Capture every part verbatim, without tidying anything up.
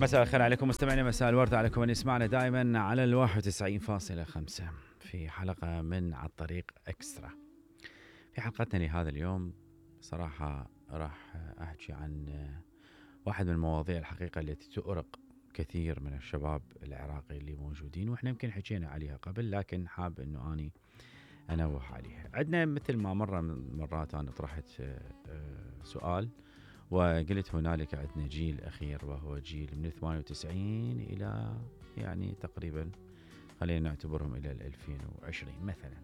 مساء الخير عليكم مستمعينا، مساء الورد عليكم من يسمعنا دائما على الواحد وتسعين فاصلة خمسة في حلقة من على الطريق اكسترا. في حلقتنا لهذا اليوم صراحة راح احكي عن واحد من المواضيع الحقيقة التي تؤرق كثير من الشباب العراقي اللي موجودين، واحنا يمكن حكينا عليها قبل لكن حاب انه اني انوه عليها. عندنا مثل ما مرة من مرات انا طرحت سؤال وقلت هنالك عندنا جيل أخير وهو جيل من ثمانية وتسعين إلى يعني تقريبا خلينا نعتبرهم إلى ألفين وعشرين مثلا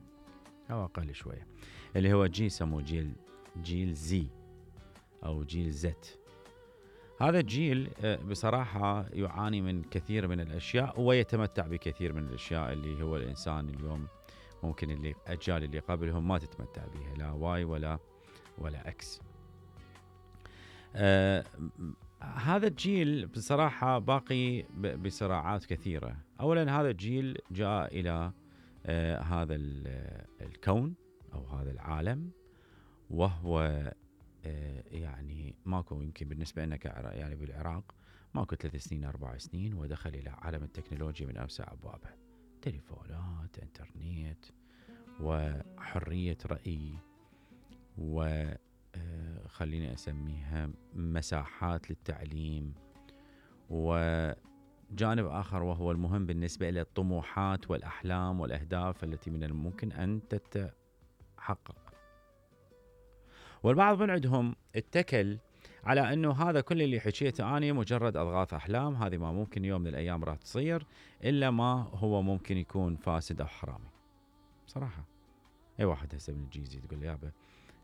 أو أقل شوية، اللي هو جيل سموه جيل جيل زي أو جيل زت. هذا الجيل بصراحة يعاني من كثير من الأشياء ويتمتع بكثير من الأشياء اللي هو الإنسان اليوم ممكن اللي أجيال اللي قبلهم ما تتمتع بها، لا واي ولا ولا أكس. آه هذا الجيل بصراحة باقي بصراعات كثيرة. أولا هذا الجيل جاء إلى آه هذا الكون أو هذا العالم وهو آه يعني ماكو، يمكن بالنسبة لنا يعني بالعراق ماكو ثلاث سنين أربع سنين ودخل إلى عالم التكنولوجيا من أوسع أبوابه، تليفونات، إنترنت، وحرية رأي، و خليني أسميها مساحات للتعليم، وجانب آخر وهو المهم بالنسبة إلى الطموحات والأحلام والأهداف التي من الممكن أن تتحقق. والبعض من عندهم اتكل على أنه هذا كل اللي حكيته أنا مجرد أضغاث أحلام، هذه ما ممكن يوم من الأيام راح تصير إلا ما هو ممكن يكون فاسد أو حرامي. بصراحة أي واحد هسه من الجيزي تقول لي يابا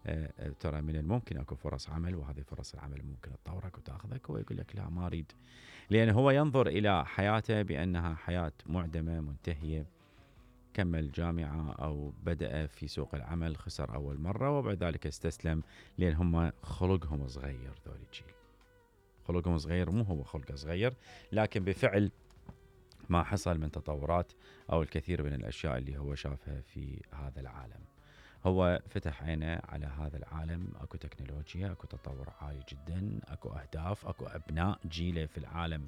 أه ترى من الممكن اكو فرص عمل وهذه فرص العمل ممكن تطورك وتاخذك، هو يقول لك لا ما اريد، لان هو ينظر الى حياته بانها حياه معدمه منتهيه. كمل جامعه او بدا في سوق العمل خسر اول مره وبعد ذلك استسلم، لان هم خلقهم صغير. ذول الجيل خلقهم صغير، مو هو خلقه صغير لكن بفعل ما حصل من تطورات او الكثير من الاشياء اللي هو شافها في هذا العالم. هو فتح عينه على هذا العالم، اكو تكنولوجيا، اكو تطور عالي جدا، اكو اهداف، اكو ابناء جيله في العالم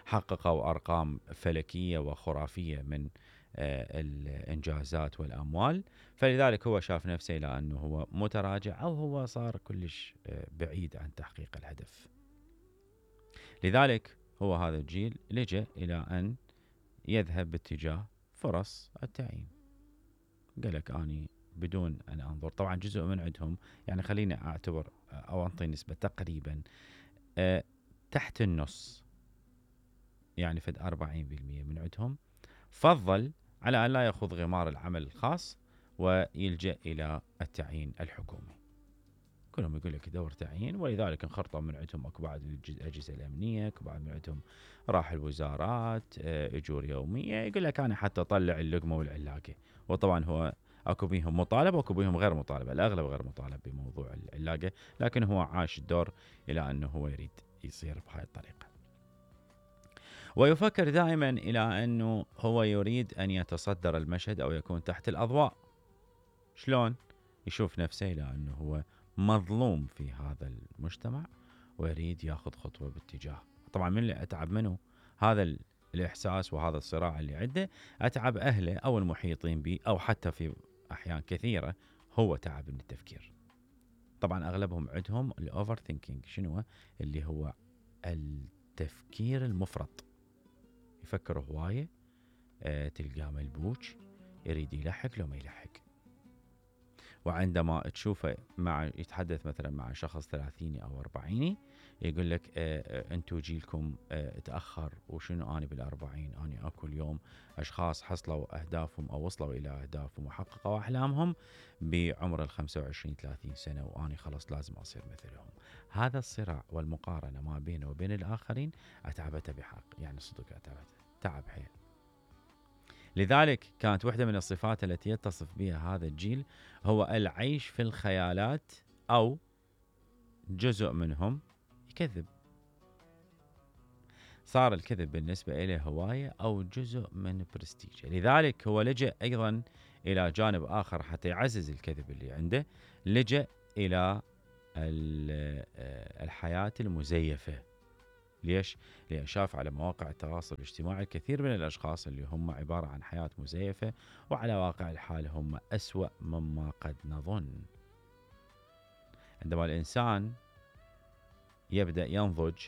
حققوا ارقام فلكيه وخرافيه من آه الانجازات والاموال، فلذلك هو شاف نفسه الى انه هو متراجع او هو صار كلش آه بعيد عن تحقيق الهدف. لذلك هو هذا الجيل لجأ الى ان يذهب باتجاه فرص التعيين. قال لك اني بدون أن أنظر، طبعا جزء من عندهم يعني خليني أعتبر أو أنطي نسبة تقريبا أه تحت النص، يعني فد أربعين بالمئة من عندهم فضل على أن لا يأخذ غمار العمل الخاص ويلجأ إلى التعيين الحكومي. كلهم يقول لك دور تعيين، ولذلك انخرطوا من عندهم اكو بعض الأجهزة الأمنية، اكو بعض من عندهم راح الوزارات، أه أجور يومية، يقول لك أنا حتى أطلع اللقمة والعلاقة. وطبعا هو اكو بيهم مطالب واكو بيهم غير مطالب، الاغلب غير مطالب بموضوع العلاقه، لكن هو عاش الدور الى انه هو يريد يصير بهاي الطريقه. ويفكر دائما الى انه هو يريد ان يتصدر المشهد او يكون تحت الاضواء. شلون؟ يشوف نفسه الى انه هو مظلوم في هذا المجتمع ويريد ياخذ خطوه باتجاه. طبعا من اللي اتعب منه هذا الاحساس وهذا الصراع اللي عنده، اتعب اهله او المحيطين به او حتى في أحيان كثيرة هو تعب من التفكير. طبعا أغلبهم عندهم الأوفر ثينكينج، شنو اللي هو التفكير المفرط، يفكر هواية، أه تلقاه ملبوج يريد يلحق لو ما يلحق. وعندما تشوفه مع يتحدث مثلا مع شخص ثلاثيني أو أربعيني يقول لك أه أه أنتو جيلكم أه تأخر، وشنو أنا بالأربعين، أنا أكو اليوم أشخاص حصلوا أهدافهم أو وصلوا إلى أهدافهم وحققوا أحلامهم بعمر الخمسة وعشرين ثلاثين سنة، وأنا خلاص لازم أصير مثلهم. هذا الصراع والمقارنة ما بينه وبين الآخرين أتعبته بحق، يعني صدق أتعبته تعب حيل. لذلك كانت واحدة من الصفات التي يتصف بها هذا الجيل هو العيش في الخيالات، أو جزء منهم يكذب. صار الكذب بالنسبة إليه هواية أو جزء من برستيجه. لذلك هو لجأ أيضا إلى جانب آخر حتى يعزز الكذب اللي عنده، لجأ إلى الحياة المزيفة. ليش؟ لأن شاف على مواقع التواصل الاجتماعي الكثير من الأشخاص اللي هم عبارة عن حياة مزيفة، وعلى واقع الحال هم أسوأ مما قد نظن. عندما الإنسان يبدأ ينضج،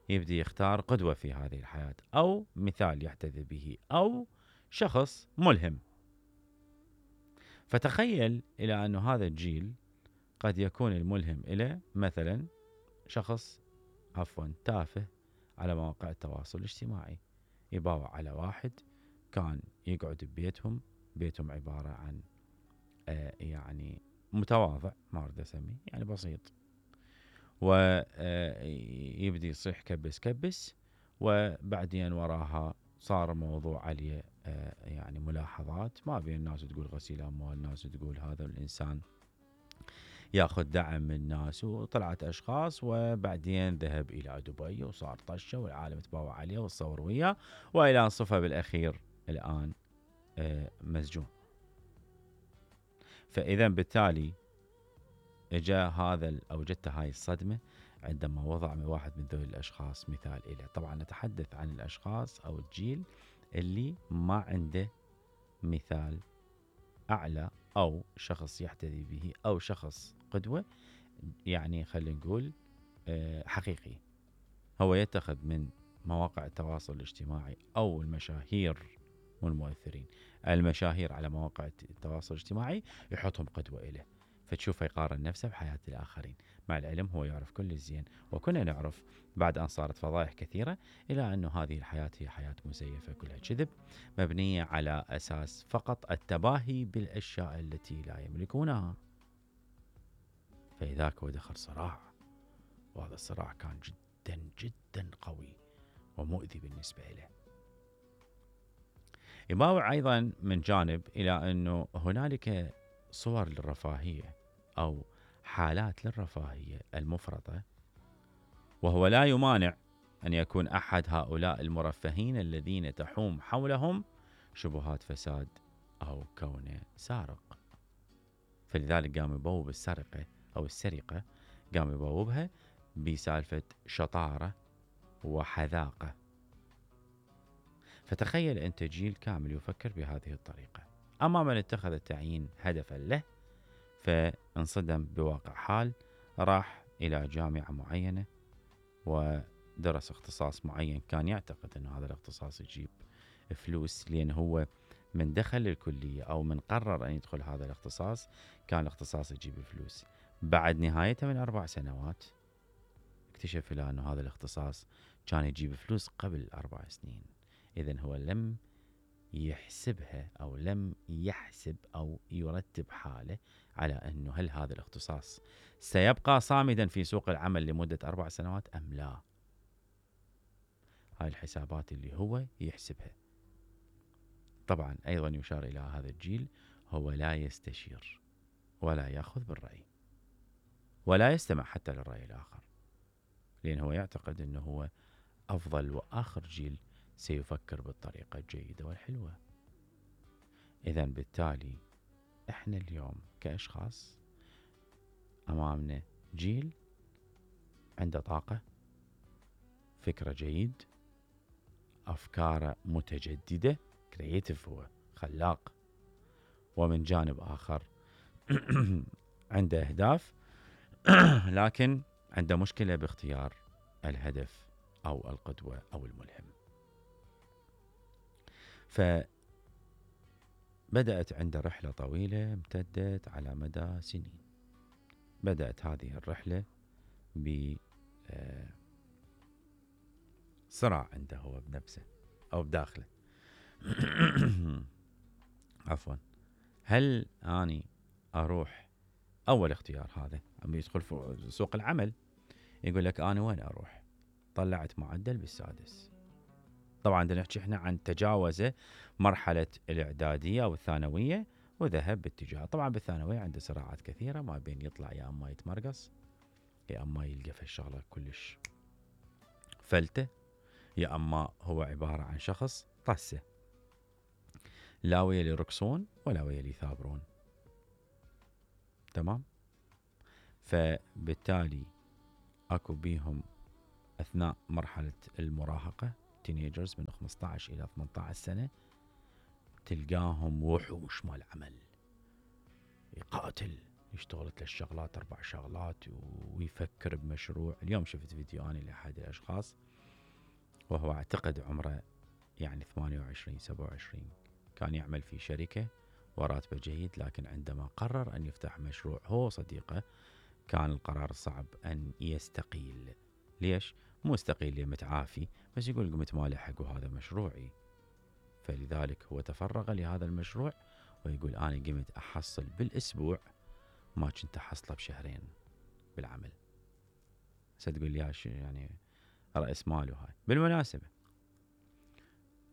يبدأ يختار قدوة في هذه الحياة، أو مثال يحتذي به، أو شخص ملهم. فتخيل إلى أن هذا الجيل قد يكون الملهم إلى مثلا شخص عفوا تافه على مواقع التواصل الاجتماعي، يباوع على واحد كان يقعد ببيتهم، بيتهم عبارة عن آه يعني متواضع، ما أريد أسميه، يعني بسيط، ويبدي يصيح كبس كبس، وبعدين وراها صار موضوع عليه آه يعني ملاحظات، ما بين الناس تقول غسيل أموال، الناس تقول هذا الإنسان ياخذ دعم من الناس، وطلعت أشخاص، وبعدين ذهب إلى دبي وصار طشة والعالم تباوع عليه وتصور وياه، وإلى أن صفى بالأخير الآن آه مسجون. فإذا بالتالي اجا هذا او جت هاي الصدمة عندما وضع من واحد من ذوي الاشخاص مثال إله. طبعا نتحدث عن الاشخاص او الجيل اللي ما عنده مثال اعلى او شخص يحتذي به او شخص قدوة، يعني خلينا نقول حقيقي. هو يتخذ من مواقع التواصل الاجتماعي او المشاهير والمؤثرين، المشاهير على مواقع التواصل الاجتماعي يحطهم قدوة إله، فتشوفه يقارن نفسه بحياة الآخرين. مع العلم هو يعرف كل الزين، وكنا نعرف بعد أن صارت فضائح كثيرة إلى أنه هذه الحياة هي حياة مزيفة كلها كذب، مبنية على أساس فقط التباهي بالأشياء التي لا يملكونها. فإذاك هو دخل صراع، وهذا الصراع كان جدا جدا قوي ومؤذي بالنسبة له. يباوع أيضا من جانب إلى أنه هنالك صور للرفاهية أو حالات للرفاهية المفرطة، وهو لا يمانع أن يكون أحد هؤلاء المرفهين الذين تحوم حولهم شبهات فساد أو كونه سارق. فلذلك قام يبوب السرقة أو السرقة، قام يبوبها بسالفة شطارة وحذاقة. فتخيل أنت جيل كامل يفكر بهذه الطريقة. أما من اتخذ التعيين هدفا له فانصدم بواقع حال، راح إلى جامعة معينة ودرس اختصاص معين، كان يعتقد أن هذا الاختصاص يجيب فلوس، لأن هو من دخل الكلية أو من قرر أن يدخل هذا الاختصاص كان الاختصاص يجيب فلوس. بعد نهايته من أربع سنوات اكتشف أن هذا الاختصاص كان يجيب فلوس قبل أربع سنين. إذن هو لم يحسبها أو لم يحسب أو يرتب حاله على أنه هل هذا الاختصاص سيبقى صامدا في سوق العمل لمدة أربع سنوات أم لا. هاي الحسابات اللي هو يحسبها. طبعا أيضا يشار إلى هذا الجيل، هو لا يستشير ولا يأخذ بالرأي ولا يستمع حتى للرأي الآخر، لأن هو يعتقد أنه هو أفضل وآخر جيل سيفكر بالطريقة الجيدة والحلوة. إذن بالتالي إحنا اليوم كأشخاص أمامنا جيل عنده طاقة، فكرة جيد، أفكار متجددة، كرياتيف، هو خلاق، ومن جانب آخر عنده أهداف لكن عنده مشكلة باختيار الهدف أو القدوة أو الملهم. فبدأت عنده رحلة طويلة امتدت على مدى سنين. بدأت هذه الرحلة بصراع عنده هو بنفسه أو بداخله. عفوا، هل أني أروح أول اختيار هذا أم يدخل في سوق العمل، يقول لك أنا وين أروح؟ طلعت معدل بالسادس. طبعا عندنا نحكي احنا عن تجاوزه مرحلة الإعدادية أو الثانوية وذهب باتجاه. طبعا بالثانوية عنده صراعات كثيرة، ما بين يطلع يا أما يتمرقص، يا أما يلقى في الشغلة كلش فلتة، يا أما هو عبارة عن شخص طسة، لا ويلي يرقصون ولا ويلي يثابرون. تمام. فبالتالي أكو بيهم أثناء مرحلة المراهقة تينيجرز من خمسة عشر إلى ثمانية عشر سنة، تلقاهم وحوش مال عمل، يقاتل، يشتغل ثلاث شغلات أربع شغلات ويفكر بمشروع. اليوم شفت فيديو أنا لأحد الأشخاص وهو أعتقد عمره يعني ثمانية وعشرين سبعة وعشرين، كان يعمل في شركة وراتبه جيد، لكن عندما قرر أن يفتح مشروع هو صديقه كان القرار الصعب أن يستقيل. ليش؟ مو استقيل لي متعافي، بس يقول قمت ما لحق وهذا مشروعي. فلذلك هو تفرغ لهذا المشروع ويقول أنا قمت أحصل بالأسبوع ما كنت أحصله بشهرين بالعمل. ستقول لي يعني رأس ماله هاي. بالمناسبة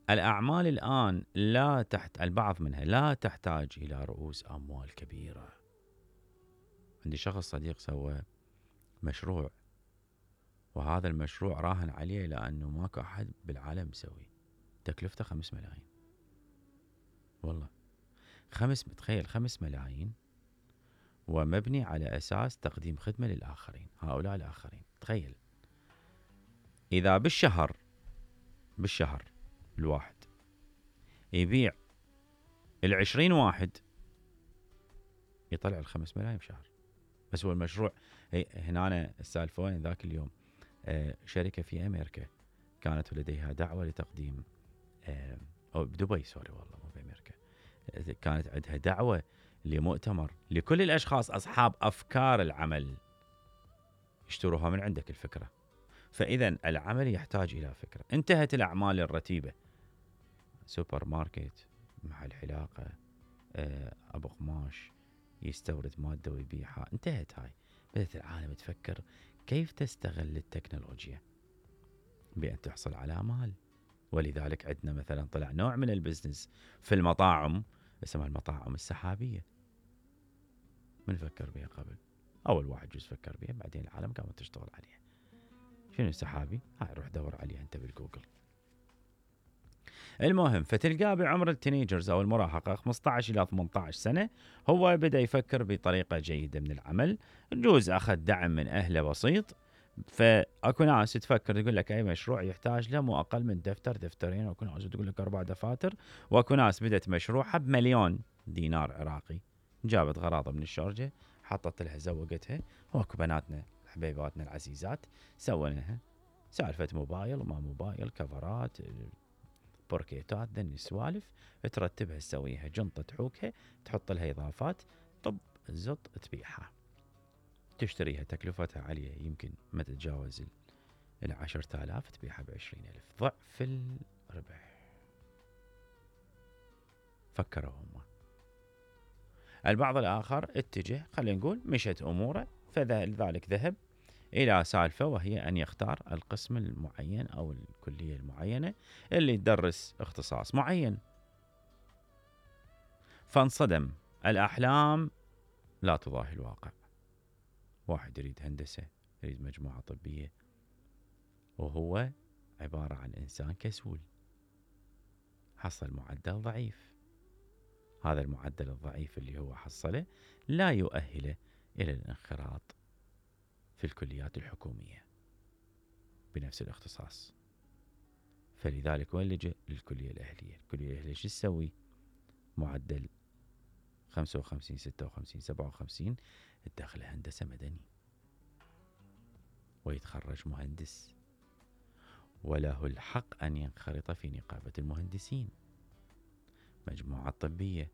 الأعمال الآن لا تحت البعض منها لا تحتاج إلى رؤوس أموال كبيرة. عندي شخص صديق سوى مشروع وهذا المشروع راهن عليه لأنه ماكو أحد بالعالم مسوي، تكلفته خمس ملايين. والله خمس متخيل خمس ملايين ومبني على أساس تقديم خدمة للآخرين، هؤلاء الآخرين. تخيل إذا بالشهر بالشهر الواحد يبيع العشرين واحد يطلع الخمس ملايين بشهر. بس هو المشروع هنا أنا السالفة وين ذاك اليوم آه شركة في أمريكا كانت لديها دعوة لتقديم آه أو بدبي سوري والله مو بأمريكا، آه كانت عندها دعوة لمؤتمر لكل الأشخاص أصحاب أفكار العمل يشتروها من عندك الفكرة. فإذا العمل يحتاج إلى فكرة. انتهت الأعمال الرتيبة، سوبر ماركت، محل حلاقة، آه أبو قماش يستورد مادة ويبيعها، انتهت هاي. بدأت العالم تفكر كيف تستغل التكنولوجيا بأن تحصل على مال. ولذلك عندنا مثلا طلع نوع من البزنس في المطاعم اسمها المطاعم السحابية. من فكر بها قبل؟ أول واحد جزء فكر بها، بعدين العالم قامت تشتغل عليها. شنو السحابي؟ هاي روح دور عليها أنت بالجوجل. المهم فتلقاه بعمر التينيجرز أو المراهقة خمسة عشر إلى ثمانية عشر سنة هو بدأ يفكر بطريقة جيدة من العمل. جوز أخذ دعم من أهله بسيط. فأكو ناس تفكر تقول لك أي مشروع يحتاج له مو أقل من دفتر دفترين، وأكو ناس تقول لك أربع دفاتر، وأكو ناس بدأت مشروعها بمليون دينار عراقي، جابت غراضة من الشارجة حطت لها زوقتها. وأكو بناتنا حبيباتنا العزيزات سويناها سالفة موبايل وما موبايل، كفرات، بوركيتات، ذني السوالف ترتبها تسويها جنطة تحوكها تحط لها إضافات، طب الزط تبيعها، تشتريها تكلفتها عالية يمكن ما تتجاوز العشرة آلاف، تبيعها بعشرين ألف، ضعف الربح. فكروا هم. البعض الآخر اتجه خلينا نقول مشت أموره، فلذلك ذهب إلى سالفة وهي أن يختار القسم المعين أو الكلية المعينة اللي تدرس اختصاص معين. فانصدم، الأحلام لا تضاهي الواقع. واحد يريد هندسة، يريد مجموعة طبية، وهو عبارة عن إنسان كسول، حصل معدل ضعيف. هذا المعدل الضعيف اللي هو حصله لا يؤهله إلى الانخراط في الكليات الحكومية بنفس الاختصاص. فلذلك وين لجأ؟ للكلية الأهلية. الكلية الأهلية شو تسوي؟ معدل خمسة وخمسين ستة وخمسين سبعة وخمسين، الداخل هندسة مدني، ويتخرج مهندس وله الحق أن ينخرط في نقابة المهندسين. مجموعة طبية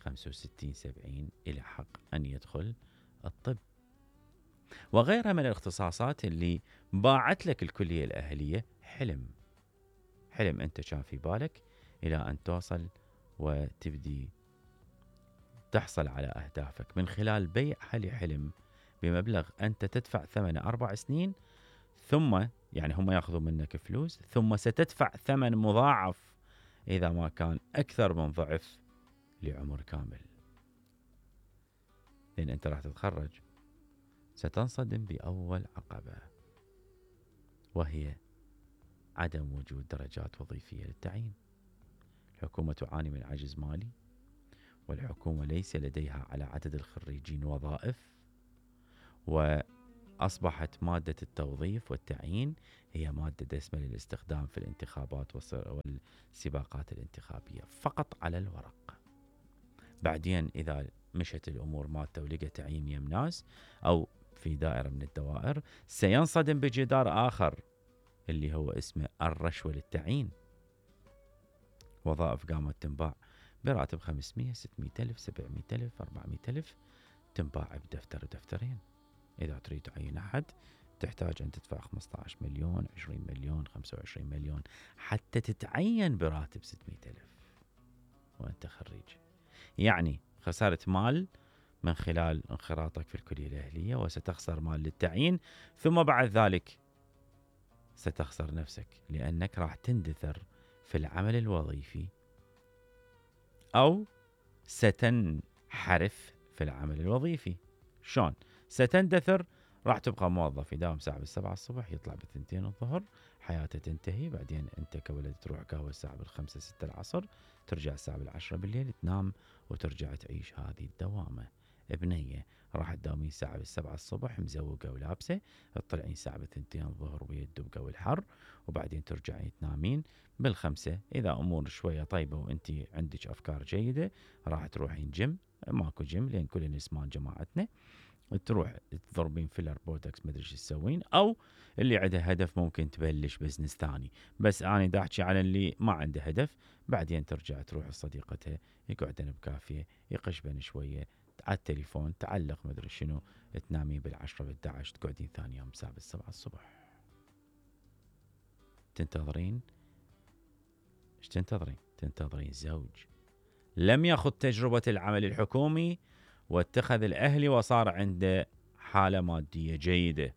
خمسة وستين سبعين إلى حق أن يدخل الطب، وغيرها من الاختصاصات اللي باعت لك الكلية الأهلية حلم. حلم أنت كان في بالك إلى أن توصل وتبدي تحصل على أهدافك من خلال بيع هالحلم بمبلغ أنت تدفع ثمن أربع سنين، ثم يعني هم يأخذوا منك فلوس، ثم ستدفع ثمن مضاعف إذا ما كان أكثر من ضعف لعمر كامل. لأن أنت راح تتخرج ستنصدم بأول عقبة، وهي عدم وجود درجات وظيفية للتعيين. الحكومة تعاني من عجز مالي، والحكومة ليس لديها على عدد الخريجين وظائف، أصبحت مادة التوظيف والتعيين هي مادة دسمة للاستخدام في الانتخابات والسباقات الانتخابية فقط على الورق. بعدين إذا مشت الأمور مالته ولقى تعيين يم ناس أو في دائرة من الدوائر، سينصدم بجدار آخر اللي هو اسمه الرشوة للتعيين. وظائف قامت تنباع براتب خمسمية ستمية ألف سبعمية ألف أربعمية ألف، تنباع بدفتر ودفترين. إذا تريد تعين أحد تحتاج أن تدفع خمسة عشر مليون عشرين مليون خمسة وعشرين مليون حتى تتعين براتب ستمية ألف وأنت خريج. يعني خسرت مال من خلال انخراطك في الكلية الأهلية، وستخسر مال للتعيين، ثم بعد ذلك ستخسر نفسك لأنك راح تندثر في العمل الوظيفي أو ستنحرف في العمل الوظيفي. شون ستندثر؟ راح تبقى موظف يداوم ساعة بالسبعة الصبح يطلع بالثنتين الظهر، حياته تنتهي. بعدين أنت كولد تروح قهوة الساعة بالخمسة ستة العصر، ترجع الساعة بالعشرة بالليل تنام وترجع تعيش هذه الدوامة. ابنية راح تداومين ساعة بالسبعة الصبح مزوقة ولابسة، تطلعين ساعة بالثنتين الظهر ويدب جو الحر، وبعدين ترجعين تنامين بالخمسة. إذا أمور شوية طيبة وأنت عندك أفكار جيدة راح تروحين جيم، ماكو جيم لأن كل النسمان جماعتنا، تروح تضربين فيلر بوتوكس مدري شو تسوين، او اللي عنده هدف ممكن تبلش بزنس ثاني. بس انا دا احكي على اللي ما عنده هدف. بعدين ترجع تروح لصديقتها يقعدن بكافيه يقشبن شويه على التليفون، تعلق مدري شنو، تنامين بالعشرة بالدعش، تقعدين ثاني يوم الساعه بالسبعة الصبح. تنتظرين ايش تنتظرين؟ تنتظرين زوج لم يخض تجربة العمل الحكومي واتخذ الأهلي وصار عنده حالة مادية جيدة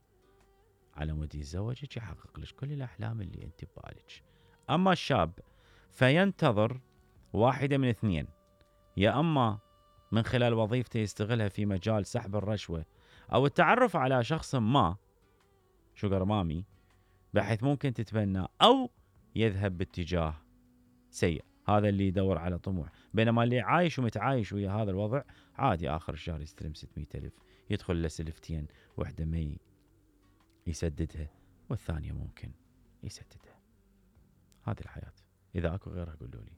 على مود يتزوجك يحقق لك كل الأحلام اللي أنت ببالك. أما الشاب فينتظر واحدة من اثنين، يا أما من خلال وظيفته يستغلها في مجال سحب الرشوة أو التعرف على شخص ما شوغر مامي بحيث ممكن تتبنى، أو يذهب باتجاه سيء، هذا اللي يدور على طموح. بينما اللي عايش ومتعايش ويا هذا الوضع عادي آخر الشهر يستلم ستمية ألف، يدخل لسلفتين، واحدة ما يسددها والثانية ممكن يسددها. هذه الحياة، إذا أكو غيرها قولوا لي.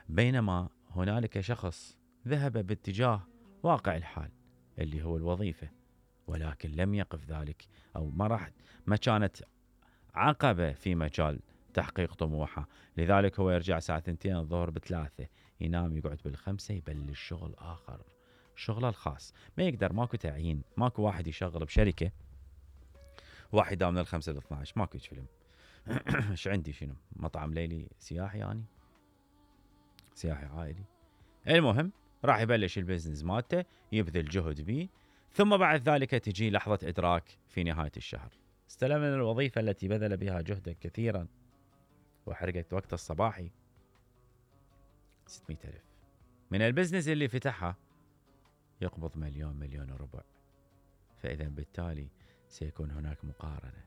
بينما هنالك شخص ذهب باتجاه واقع الحال اللي هو الوظيفة، ولكن لم يقف ذلك أو ما راح ما كانت عقبة في مجال تحقيق طموحه، لذلك هو يرجع ساعة ثنتين الظهر بثلاثة، ينام يقعد بالخمسة، يبلش شغل آخر، شغله الخاص. ما يقدر، ماكو تعيين، ماكو واحد يشغل بشركة واحد يداوم من الخمسة لاثنى عشر، ماكو فيلم. ايش عندي؟ شنو مطعم ليلي سياحي يعني سياحي عائلي؟ المهم راح يبلش البزنس مالته، يبذل جهد بيه، ثم بعد ذلك تجي لحظة إدراك في نهاية الشهر. استلم من الوظيفة التي بذل بها جهدا كثيرا وحرقت وقت الصباحي ستمية ألف. من البزنس اللي فتحها يقبض مليون مليون وربع. فإذا بالتالي سيكون هناك مقارنة.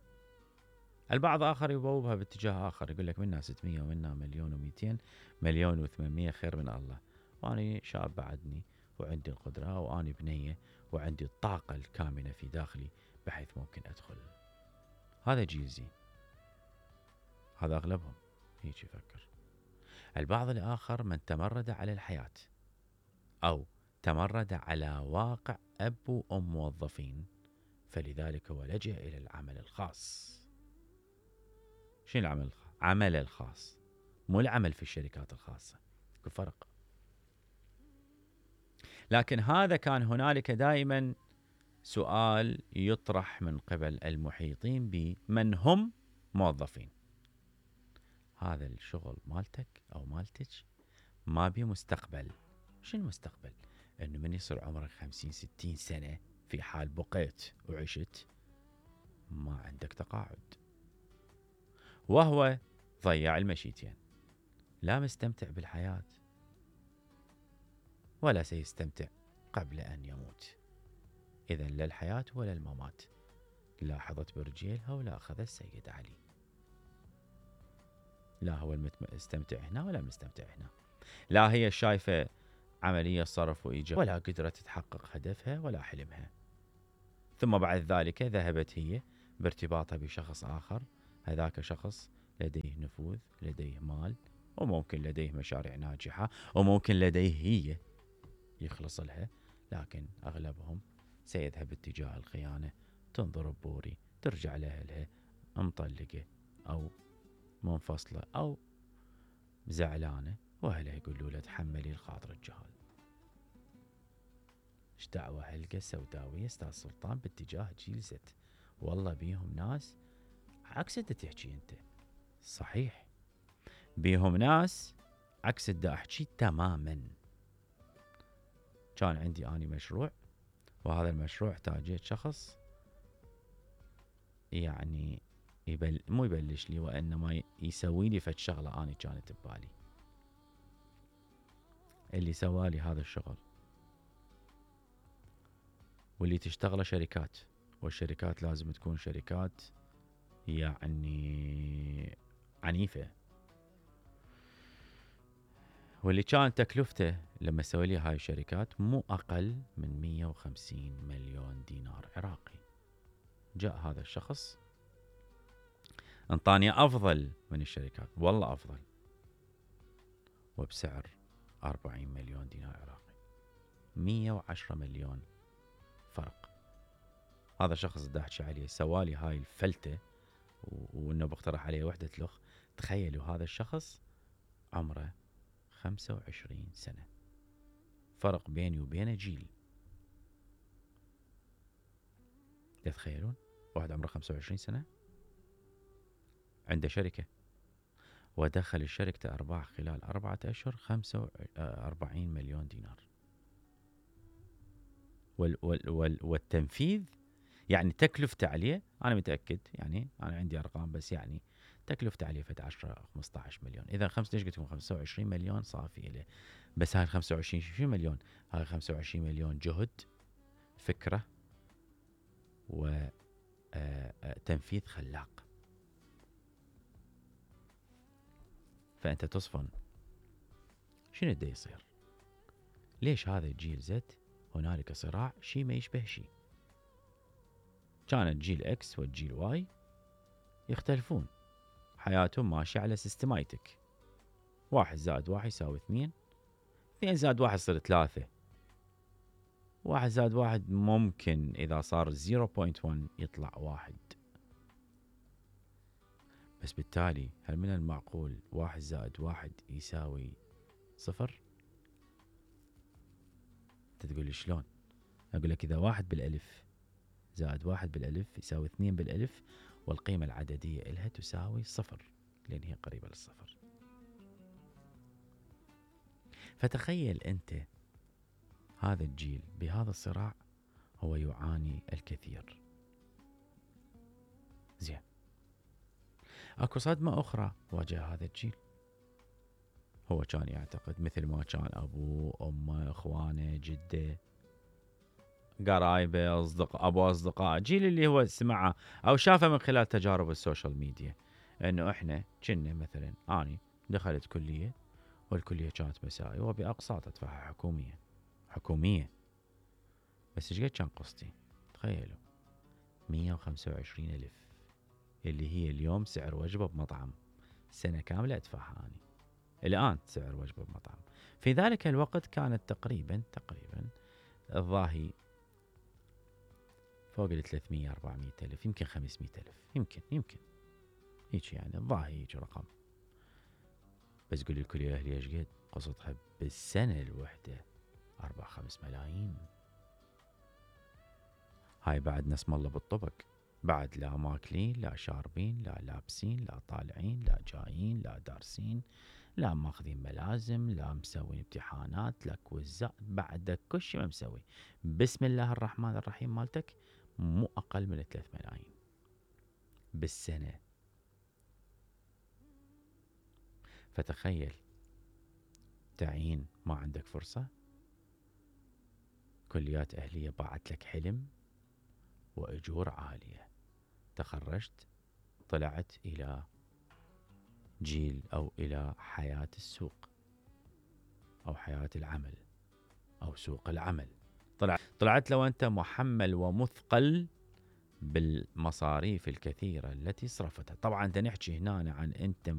البعض آخر يبوبها باتجاه آخر، يقول لك منا ستمية ومنا مليون ومئتين، مليون وثمانمية خير من الله، وأنا شاب بعدني وعندي القدرة وأنا بنية وعندي الطاقة الكامنة في داخلي بحيث ممكن أدخل. هذا جيل زين، هذا أغلبهم هيك يفكر. البعض الآخر من تمرد على الحياة أو تمرد على واقع أب وأم موظفين، فلذلك هو لجأ إلى العمل الخاص. شنو العمل الخاص؟ عمل الخاص، مو العمل في الشركات الخاصة، في فرق. لكن هذا كان هنالك دائما سؤال يطرح من قبل المحيطين بمن هم موظفين: هذا الشغل مالتك أو مالتك ما بي مستقبل. شنو المستقبل؟ إنه من يصير عمرك خمسين ستين سنة في حال بقيت وعشت ما عندك تقاعد، وهو ضيع المشيتين، لا مستمتع بالحياة ولا سيستمتع قبل أن يموت. إذن لا الحياة ولا الممات، لا حظت برجيلها ولا أخذ السيد علي، لا هو المستمتع هنا ولا المستمتع هنا، لا هي شايفة عملية صرف وإيجاب ولا قدرت تحقق هدفها ولا حلمها. ثم بعد ذلك ذهبت هي بارتباطها بشخص آخر، هذاك شخص لديه نفوذ، لديه مال، وممكن لديه مشاريع ناجحة، وممكن لديه هي يخلص لها، لكن أغلبهم سيذهب اتجاه الخيانة. تنظر بوري، ترجع لأهلها مطلقة أو منفصلة أو زعلانة، وأهلها يقولوا له تحملي الخاطر الجهال. ايش دعوة هلقة سوداوية استاذ سلطان باتجاه جيل زد؟ والله بيهم ناس عكس اللي تحكي انت، صحيح بيهم ناس عكس اللي احكي تماما. كان عندي اني مشروع، وهذا المشروع احتاجيت شخص يعني يبل مو يبلش لي، وانما يسوي لي فد شغله اني كانت ببالي. اللي سوالي هذا الشغل واللي تشتغله شركات، والشركات لازم تكون شركات يعني عنيفة، واللي كان تكلفته لما سوي لي هاي الشركات مو أقل من مية وخمسين مليون دينار عراقي. جاء هذا الشخص انطاني أفضل من الشركات، والله أفضل، وبسعر أربعين مليون دينار عراقي، مية وعشرة مليون فرق. هذا الشخص اللي احكي عليه سوالي هاي الفلتة، وانه بقترح عليه وحدة لخ. تخيلوا هذا الشخص عمره خمسة وعشرين سنة، فرق بيني وبينه جيل. تتخيلون واحد عمره خمسة وعشرين سنة عنده شركة، ودخل الشركة أرباح خلال أربعة أشهر خمسة وأربعين مليون دينار. وال وال وال والتنفيذ يعني تكلفته عليه، أنا متأكد يعني أنا عندي أرقام، بس يعني تكلفته عليه فد عشرة خمسة عشر مليون. إذا خمسة ليش قلت لكم خمسة وعشرين مليون صافي له. بس هاي خمسة وعشرين شو مليون؟ هاي خمسة وعشرين مليون جهد، فكرة، وتنفيذ خلاق. فأنت تصفن شنو بده يصير؟ ليش هذا الجيل زد هنالك صراع شي ما يشبه شي؟ كان الجيل اكس والجيل واي يختلفون، حياتهم ماشية على سيستمايتك، واحد زائد واحد يساوي اثنين، اثنين زائد واحد يصير ثلاثة، واحد زائد واحد ممكن إذا صار صفر فاصلة واحد يطلع واحد. بس بالتالي هل من المعقول واحد زائد واحد يساوي صفر؟ انت تقول لي شلون؟ أقول لك إذا واحد بالألف زائد واحد بالألف يساوي اثنين بالألف، والقيمة العددية إلها تساوي صفر، لأن هي قريبة للصفر. فتخيل أنت هذا الجيل بهذا الصراع هو يعاني الكثير. زين، اكو صدمة أخرى واجه هذا الجيل. هو كان يعتقد مثل ما كان أبوه أمه إخوانه جده قرايبه أصدق أبو أصدقاء، جيل اللي هو سمعه أو شافه من خلال تجارب السوشيال ميديا، إنه إحنا كنا مثلا أني دخلت كلية، والكلية كانت مسائي وبأقساط أدفعها حكومية حكومية بس إيش قد كان قسطي؟ تخيلوا مية وخمسة وعشرين ألف، اللي هي اليوم سعر وجبة بمطعم سنة كاملة أدفعها أني. الآن سعر وجبة بمطعم، في ذلك الوقت كانت تقريبا تقريبا الظاهي فوق ال ثلاثمية أربعمية ألف، يمكن خمسمية ألف، يمكن يمكن هيك يعني الظاهي هيك رقم. بس قولي الكلية أهلي ايش قد قسطها بالسنة الوحدة؟ أربع خمس ملايين. هاي بعد نسم الله بالطبق، بعد لا ماكلين لا شاربين لا لابسين لا طالعين لا جايين لا دارسين لا ماخذين ملازم لا مسوين امتحانات لا كوزات، بعد كل شيء ما مسوي. بسم الله الرحمن الرحيم مالتك مو أقل من ثلاث ملايين بالسنة. فتخيل تعين ما عندك فرصة، كليات أهلية باعت لك حلم وأجور عالية، تخرجت طلعت إلى جيل أو إلى حياة السوق أو حياة العمل أو سوق العمل. طلع طلعت لو أنت محمل ومثقل بالمصاريف الكثيرة التي صرفتها. طبعا نحكي هنا عن أنت